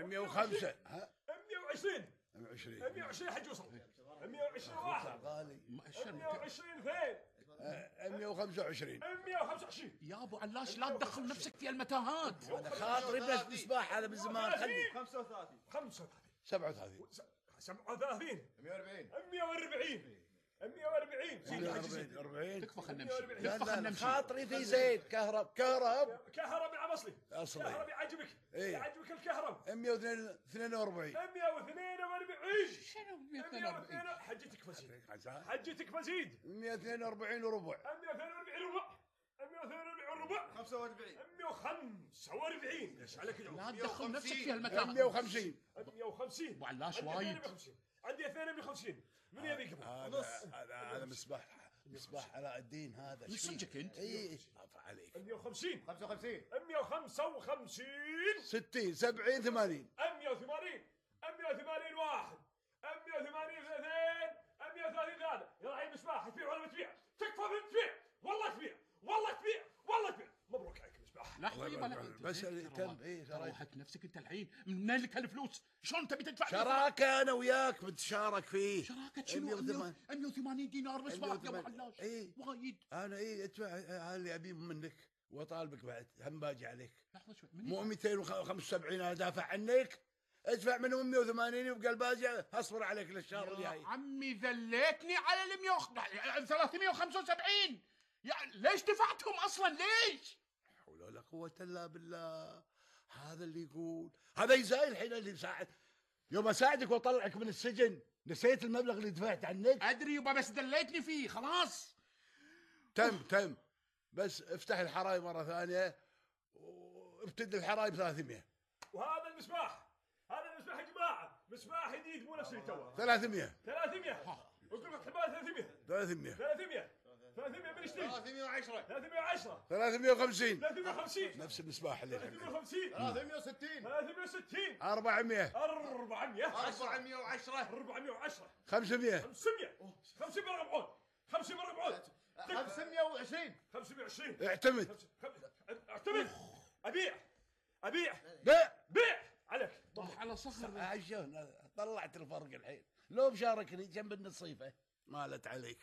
105 ها 120 120 120 حج وصل 120 واحد غالي 120 اثنين 125 125 يا ابو علاش لا تدخل نفسك في المتاهات. انا خاطري بس مصباح هذا من زمان خلي 35 37 37 140 140 40 تكفى خلنا نمشي. لا تكفى خلنا لا نمشي. خاطري في زيت كهرب كهرب العمصلي أصلي. كهرب يعجبك إيه. يعجبك الكهرب 142 142 شنو 142 حجتك فزيد حجتك فزيد 142 وربع 142 ربع 142 ربع 45 145 ايش عليك اليوم لا تدخل نفسك في المتاهات. 150 150 ابو علاش وايد. عندي 250 من يبي قبل نص هذا مصباح علاء الدين هذا من صدقك انت؟ اي عفا عليك 150 55 155 60 70 80 180 180 واحد 180 اثنين 130 ثلاثة يا رحيم مصباح تبيع ولا ما تبيع؟ تكفى من تبيع والله تبيع والله تبيع والله تبيع مبروك عليك مصباح. لحظه يبا بس تم روحك نفسك انت الحين منين لك هالفلوس؟ شلون تبي تدفع؟ شراكه انا وياك بتشارك فيه. شراكه شنو؟ 180 دينار مصباح يا ابو علاش اي وايد. انا ادفع اللي ابيه منك واطالبك بعد هم باجي عليك. لحظه شوي مو 275 انا دافع عنك ادفع منهم 180 يبقى الباقي اصبر عليك للشهر الجاي. عمي ذليتني على 375. يعني ليش دفعتهم اصلا ليش؟ حول ولا قوة الا بالله. هذا اللي يقول هذا يزاي الحين اللي مساعد يوم اساعدك واطلعك من السجن نسيت المبلغ اللي دفعت عنك. ادري يبا بس دليتني فيه خلاص. تم بس افتح الحرايب مرة ثانية وابتدي الحرايب 300. وهذا المصباح هذا المصباح يا جماعة مصباح جديد مو نفس اللي توه. 300 اقول لك حبايب 300 من يشتري 310 350 نفس المصباح اللي 350 360 400 410 500 500 مربعون 520 اعتمد ابيع بيع عليك على صخر. عشان طلعت الفرق الحين لو بشاركني جنب النصيفة مالت عليك.